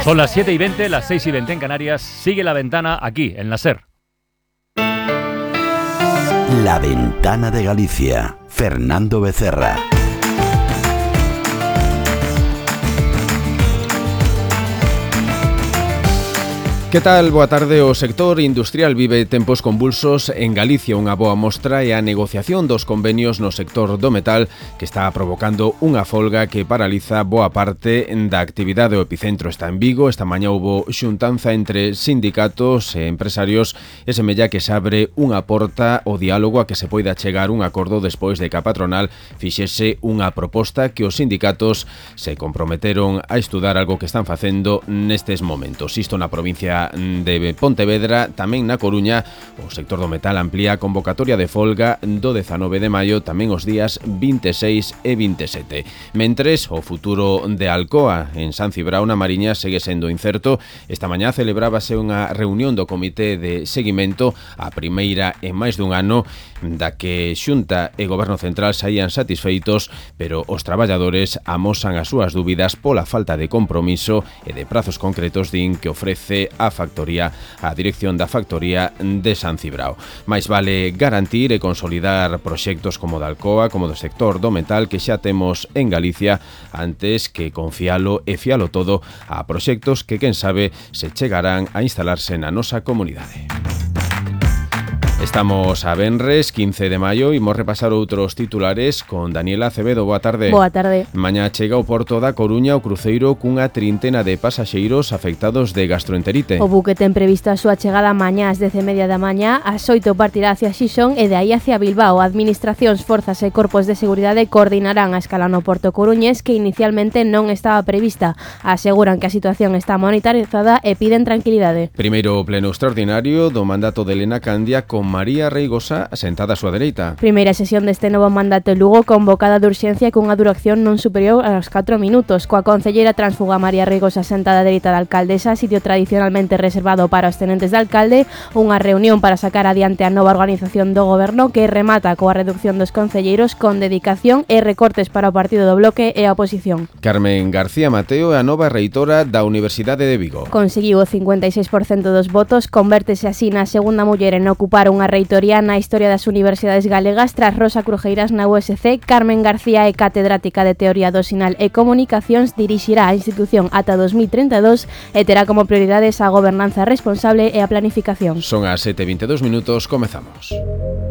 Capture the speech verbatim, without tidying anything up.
Son las siete y veinte, las seis y veinte en Canarias. Sigue La Ventana aquí, en la SER. La Ventana de Galicia. Fernando Becerra. Que tal? Boa tarde. O sector industrial vive tempos convulsos en Galicia. Unha boa mostra é a negociación dos convenios no sector do metal, que está provocando unha folga que paraliza boa parte da actividade. O epicentro está en Vigo. Esta mañá houbo xuntanza entre sindicatos e empresarios e semella que se abre unha porta ao diálogo a que se poida chegar un acordo despois de que a patronal fixese unha proposta que os sindicatos se comprometeron a estudar, algo que están facendo nestes momentos. Isto na provincia de Pontevedra. Tamén na Coruña o sector do metal amplía a convocatoria de folga do dezanove de maio, tamén os días vinte e seis e vinte e sete. Mentres, o futuro de Alcoa en San Cibrao na Mariña segue sendo incerto. Esta mañá celebrábase unha reunión do Comité de Seguimento, a primeira en máis dun ano, da que Xunta e Goberno Central saían satisfeitos, pero os traballadores amosan as súas dúbidas pola falta de compromiso e de prazos concretos, din, que ofrece a factoría, a dirección da factoría de San Cibrao. Mais vale garantir e consolidar proxectos como da Alcoa, como do sector do metal que xa temos en Galicia, antes que confialo e fialo todo a proxectos que, quen sabe, se chegarán a instalarse na nosa comunidade. Estamos a venres, quince de maio, e imos repasar outros titulares con Daniela Acevedo. Boa tarde. Boa tarde. Mañá chega ao porto da Coruña o cruceiro cunha trintena de pasaxeiros afectados de gastroenterite. O buque ten prevista a súa chegada mañá ás dez e media da mañá, ás oito partirá hacia Xixón e de aí hacia Bilbao. Administracións, forzas e corpos de seguridade coordinarán a escala no porto coruñés, que inicialmente non estaba prevista. Aseguran que a situación está monitorizada e piden tranquilidade. Primeiro pleno extraordinario do mandato de Elena Candia con María Reigosa sentada á súa dereita. Primeira sesión deste novo mandato en Lugo, convocada de urxencia cunha duración non superior aos catro minutos, coa concelleira transfuga María Reigosa sentada á dereita da alcaldesa, sitio tradicionalmente reservado para os tenentes de alcalde. Unha reunión para sacar adiante a nova organización do goberno, que remata coa reducción dos concelleiros con dedicación e recortes para o partido do Bloque e a oposición. Carmen García Mateo é a nova reitora da Universidade de Vigo. Conseguiu o cincuenta e seis por cento dos votos, convértese así na segunda muller en ocupar unha reitoría na historia das universidades galegas tras Rosa Crujeiras na U S C. Carmen García é catedrática de Teoría do Sinal e Comunicacións, dirixirá a institución ata dos mil trinta e dos e terá como prioridades a gobernanza responsable e a planificación. Son as sete e vinte e dous minutos, comezamos.